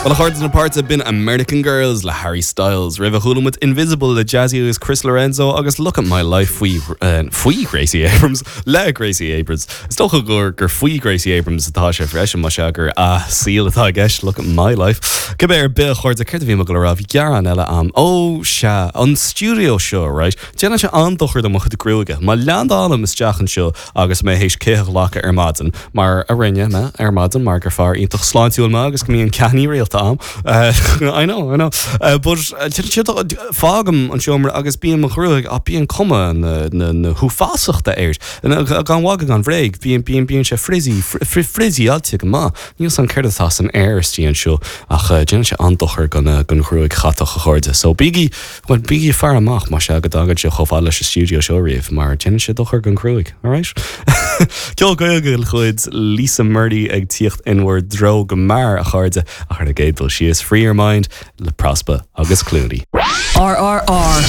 Bhuel, a chairde na páirte, b'in American Girls le Harry Styles. Roimhe chuala muid Invisible le Jazzy agus Chris Lorenzo agus Look at My Life faoi, faoi Gracie Abrams, le Gracie Abrams. Is dócha gur, gur faoi Gracie Abrams atá sé freisin, más ea gur a saol atá i gceist, Look at My Life. Cibé ar bith, a chairde, céard a bhí mé ag dul a rá? Bhí gearán eile a'm. Ó, sea, an stiúideo seo, right? Déanann sé an-dochar do mo chuid gruaige. Má leandálaim isteach anseo agus mé théis cith a ghlacadh ar maidin, mar a rinne mé ar maidin, mar gur fear iontach sláintiúil mé agus go mbíonn ceathannaí rialta a'm. I know, I know. But fágaim an seomra agus bíonn mo ghruaig, á, bíonn cuma na, na, na huafásachta air. Gan mhagadh gan bhréig, bíonn, bíonn, bíonn sé frizzy, frizzy-áilte go maith. Níl 's a'm céard atá san aer istigh anseo ach déanann sé an-dochar don, don ghruaig chatach, a chairde. So bígí, Bhuel, bígí ag faire amach, más ea go dtagann sibh chomh fada leis an stiúideo seo riamh, mar déanann sé dochar don ghruaig, alright? Ceol Gaeilge de chuid Lisa Murdie ag tíocht in bhur dtreo go mear, a chairde, ach ar an gcéad dul síos, Free Your Mind le Prospa agus Clooney. RRR.